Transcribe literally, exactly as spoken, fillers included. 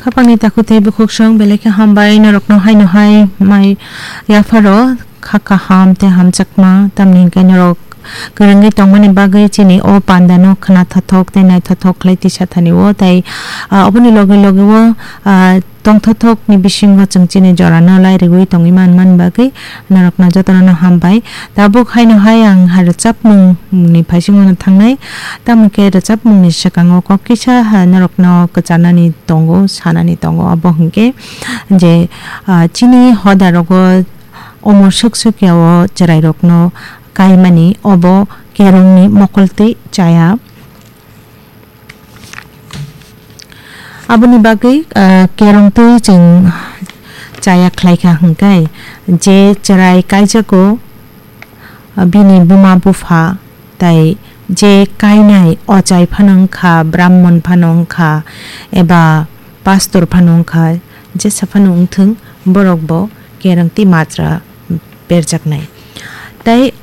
Khapangni takhuk tei bukhuksong belai khe hambai norokno haino hai mai yapharo kha kaham tei hamjakma, tamni hwnkhe norok kwrwngwi tongmani bagwi chini o pandano khna thothok tei naithothok khlai tisa thani o tei, ah, oboni loge loge o, ah, tongthothokni bisingo chwng chini jorano lairigwi tongwi man man bagwi norokno jotono no hambai. Tabuk haino hai ang ha rwchapmungni phaisingo no thangnai, tamo khe rwchapmungni swkango kok kisa ha norokno kwcharnani tongo, sanani tongo, abo hwnkhe je, ah, chini hoda rogo omo suk suk ya o chwrai rokno kaimani obo kerongni mokol twi chaya. Aboni bagwi, ah, kerong twi chwng chaya khlai kha hwnkhe, je chwrai kaijago, ah, bini buma bupha tai je kainai ochai phano wngkha, brahmon phano wngkha, eba pastor phano wngkha, jesa phano wngthwng, borok bo kerong twi majra berjaknai. Tai